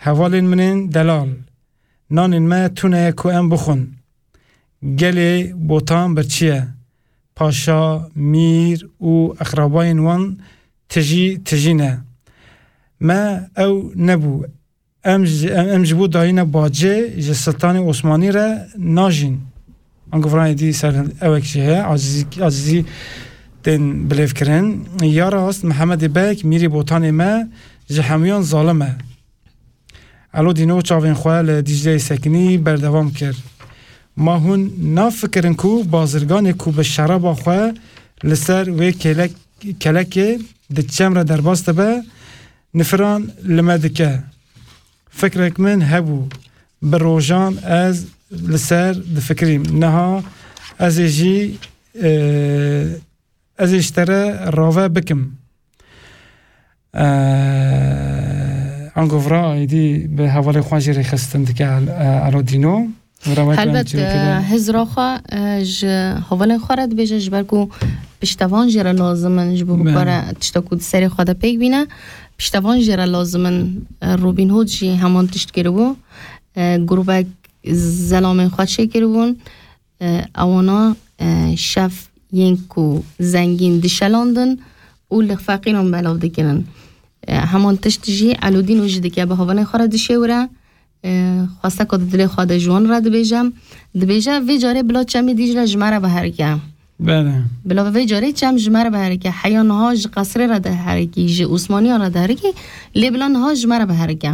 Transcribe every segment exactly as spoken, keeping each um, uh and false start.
Hevalên min ên delal, nanên me tune ye ku em bixwin. Gelê Botan birçî ye. Paşa, mîr û eqrabayên wan tijî tijî ne. Me ew nebû. Em ji, em, em ji bo dayîna bacê ji Siltanê Osmanî re najîn. Ango vira êdî ser ewek jî heye, acizî, acizî tên bilêvkirin. Ya rast, Mihemedê Beg, mîrê Botanê me, ji hemûyan zalim e. Elo Dîno çavên xwe li Dîcleyê sekinî, berdewam kir. Ma hûn nafikirin ku bazirganê ku bi şeraba xwe li ser wê kêlek-, kelekê di çem re derbas dibe, nifiran li me dike. Fikrek min hebû, bi rojan ez li ser difikirîm. Niha ez ê jî, e, ez ê ji te re rave bikim. E, ango vira êdî bi hevalê xwe jî rêxistin dike, e, Elo Dîno. Vira wek Helbet, em çêkirî. E, hizra xwe, e, ji hevalên xwe re dibêje, ji ber ku piştevan jê re lazim in, ji bo Belê. bikare tişta ku di serê xwe de pêk bîne. Piştevan jê re lazim in, e, Robin Hood jî heman tişt kiribû. E, grûbek zelamên xwe çêkiribûn. E, ewana, e, şev yên ku zengîn dişelandin û li feqîran belav dikirin. E, heman tişt jî Elodîno jî dike, bi hevalên xwe re dişêwire. E, xwesteka di dilê xwe de ji wan re dibêje. Dibêje, vê carê bila çemê Dîcle ji me re biherike. Belê. Bila vê carê çem ji me re biherike. Heya niha ji qesrê re diherikî, ji Osmaniyan re diherikî, lê bila niha ji me re biherike.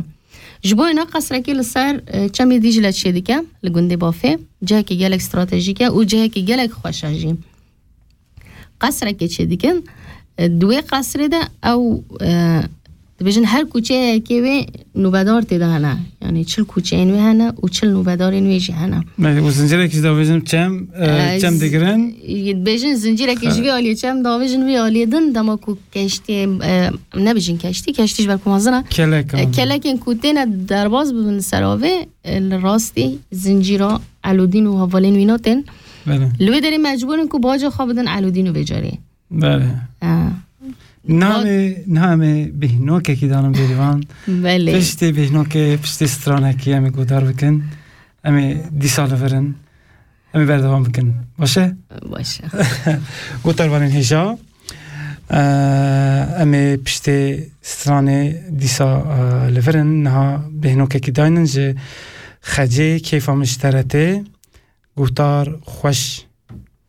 Ji bo êna qesrekê li ser, e, çemê Dîcle çêdike, li gundê Bafê. Cihekî gelek stratejîk e û cihekî gelek xweş e jî. Qesrekê çêdikin, e, di wê qesrê de ew, e, dibêjin her kuçeyekê wê nûbedar tê de hene. Yanî çil kuçeyên wê hene û çil nûbedarên wê jî hene. Belê, û zincîrekî jî davêjin çem, e, E, çem z-, digirin. Dibêjin zincîrekî ji Ha. vê aliyê çem davêjin vê aliyê din, dema ku keştiyê, e, nebêjin keştî, keştî ji ber ku mezin e. Kelek E, abi. kelekên ku têne derbas bibin li ser avê, e, li rastî zincîra Elodîn û hevalên wî natin. Belê. Li wê derê mecbûr in ku baca xwe bidin Elodîn û vê carê. Belê. E. Niha em ê, niha em ê bêhnokekî danin bêrîvan. Belê. Piştî bêhnokê, piştî stranekî em ê guhdar bikin. Em ê dîsa li vir in. Em ê berdewam bikin. Baş e? Baş e. Guhdarvanên hêja, e, em ê piştê stranê dîsa, e, li vir in. Niha bêhnokekî daynin ji Xecê, keyfa min ji te re tê. Guhdar xweş.